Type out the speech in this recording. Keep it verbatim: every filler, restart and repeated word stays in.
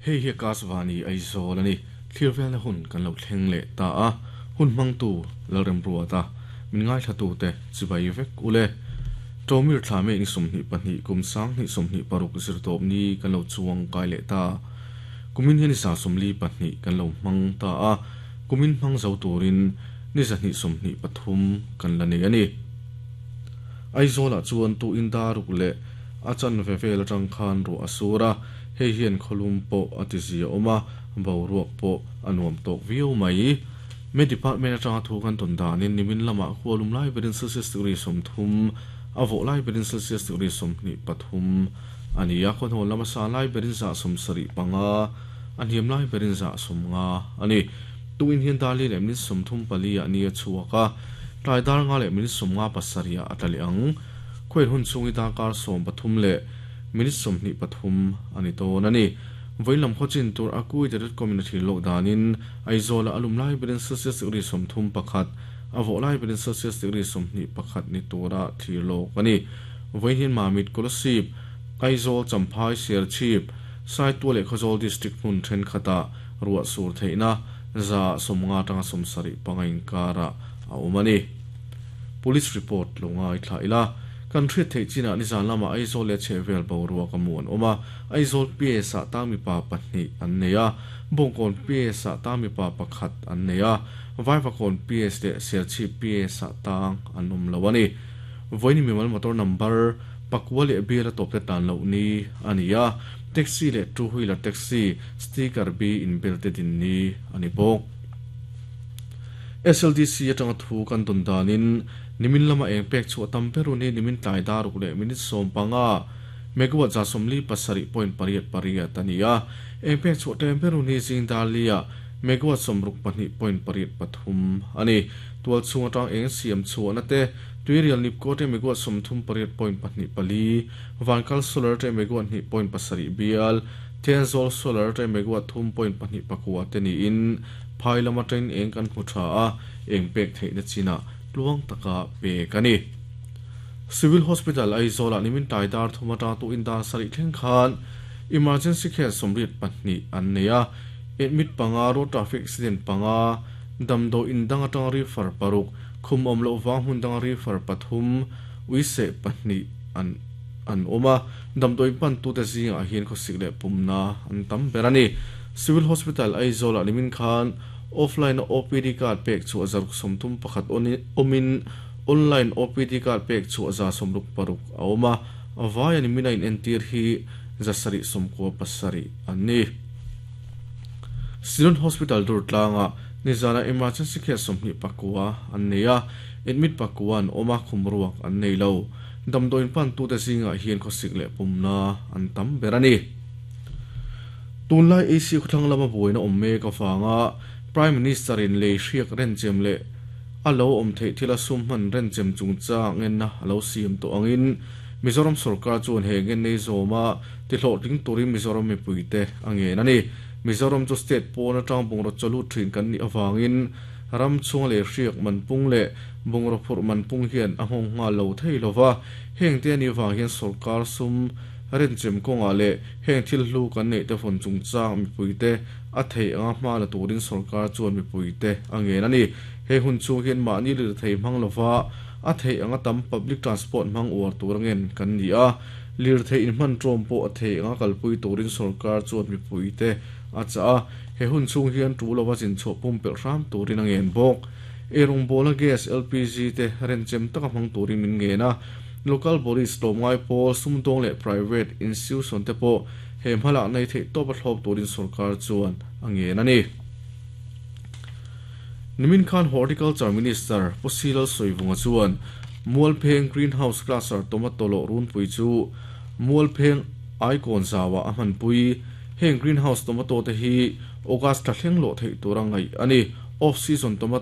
Hei hi Akashvani Aizawl ani thlir velna hun kan lo thleng leh ta a hun hmangtu Lalremruata min ngaithla te chibai vek ule Tomir thlame ni sawmhnih pahnih kum sanghnih sawmhnih paruk zir tawp ni kan lo chuang kai leh ta kumin hian sa sawmli pahnih kan lo hmang ta a kumin hmang zo turin ni zahnih sawmhnih pathum kan la nei ani Aizawl ah chuan tu in daruk leh a chan ve vel atang khan ru asura hei hian kholum pawh a ti zia awma boruak pawh a nuam tawk viau mai me department atanga thu kan tawn danin nimin lama khualum lai berin celsius degree sawmthum a vawh lai berin celsius degree sawmhnih pathum ani a khaw lama sa lai berin za sawm sarih panga a hniam lai berin za sawm nga ani tuin hian dali leh min sawmthum pali ah ni a chhuak a tlai dar nga leh min sawm nga pasarih ah a tla leh ang khuain hun chungi darkar sawm pathum leh minute sawmhnih pathum ani tawn ani voilam khawchin tur akui te dot com in a thil lok danin Aizawl a alum lai berin celsius degree sawmthum pakhat a vawh lai berin celsius degree sawmhnih pakhat ni tura thlir lawk ani vawiin hian Mamit Kolasib Aizawl Champhai Serchhip Saitual leh Khawzawl district hmun thenkhatah ruah sur theihna za sawmnga atanga sawm sarih panga inkara a awm ani police report lo ngai thla ila kan hriat theih chinah nizan lama Aizawl leh chhehvel boruak a mu an awm a Aizawl P S ah tang mipa pahnih an nei a Bawngkawn P S ah tang mipa pakhat an nei a Vaivakawn P S leh Serchhip P S ah tang an awm lo ani vawiin mimal motor number pakua leh bial a tawp te tan loh ni ani a taxi leh two wheeler taxi sticker B in bel te din ni ani bawk S L D C atanga thu kan tawn danin nimin lama eng pek chu tam beru ni nimin tlai daruk leh minute sawm panga megawatt za sawmli pasarih point pariat pariat ani a eng pek chu tem beru ni zing dalia megawatt sawmruk pahnih point pariat pathum ani tual chung atang eng siam chu na te tuirial nipko te megawatt sawmthum pariat point pahnih pali vankal solar te megawatt hnih point pasarih bial Thenzawl solar te megawatt thum point pahnih pakua te ni in phai lama train eng kan hmu tha a eng pek theihna china tluang taka pek ani Civil Hospital Aizawl ah nimin tlai dar thum atang tu in dar sarih thleng khan emergency case sawmriat pahnih an nei a admit panga road traffic accident panga damdaw in dang atang refer paruk khum awm loh wang hmun dang refer pathum uise pahnih an an awm a damdawi pan tu te zingah hian khawsik leh pumna an tam ber ani Civil Hospital Aizawl ah nimin khan offline O P D card pek chu a zaruk sawmthum pakhat awmin online O P D card pek chu a za sawmruk paruk a awm a avai ani mina in entir hi zasarih sawmkua pasarih an ni Synod Hospital dur tlanga nizana emergency case sawmhnih pakua an nei a admit pakua an awm a khum ruak an nei lo damdawiin pan tu te zingah hian khawsik leh pumna an tam ber ani tunlai A C khawthlang lama buaina awm mek avanga Prime Minister in lei hriak renchem leh a lo awm theih thil a sum hman renchem chungchang ngenna a lo siam tawh angin Mizoram sarkar chuan he ngen nei zawma ti hlawhtling turin Mizoram mipui te a ngen ani Mizoram chu state pawn atang bungraw chawlut thin kan nih awangin ram chhung leh hriak man pung leh bungraw phurh man pung hian a nghawng nghal lo thei lova heng te ani wang hian sarkar sum renchem kawngah leh heng thil hlu kan neih te vawn chungchang mipui te a thei anga hma la turin sarkar chuan mipui te a ngen ani he hun chung hian mahni lir thei hmang lova a thei anga tam public transport hmang uar tur angen kan ni a lir thei in hman tawm pawh a thei anga kalpui turin sarkar chuan mipui te a cha a he hun chung hian tu lova chin chhuah pum pelh hram turin a ngen bawk erung bola gas L P G te renchem taka hmang turin min ngen a local bodies tlawmngai pawl sumdawng leh private institution te pawh he hmalak nei theih tawp a thlawp turin sarkar chuan a ngen ani nimin khan Horticulture Minister Pu Lalsawivunga chuan Mualpheng greenhouse cluster tomato lo runpui chu Mualpheng icon zawa a hmanpui heng greenhouse tomato te hi August thla thleng lo theih tur a ngaih ani off season tomato.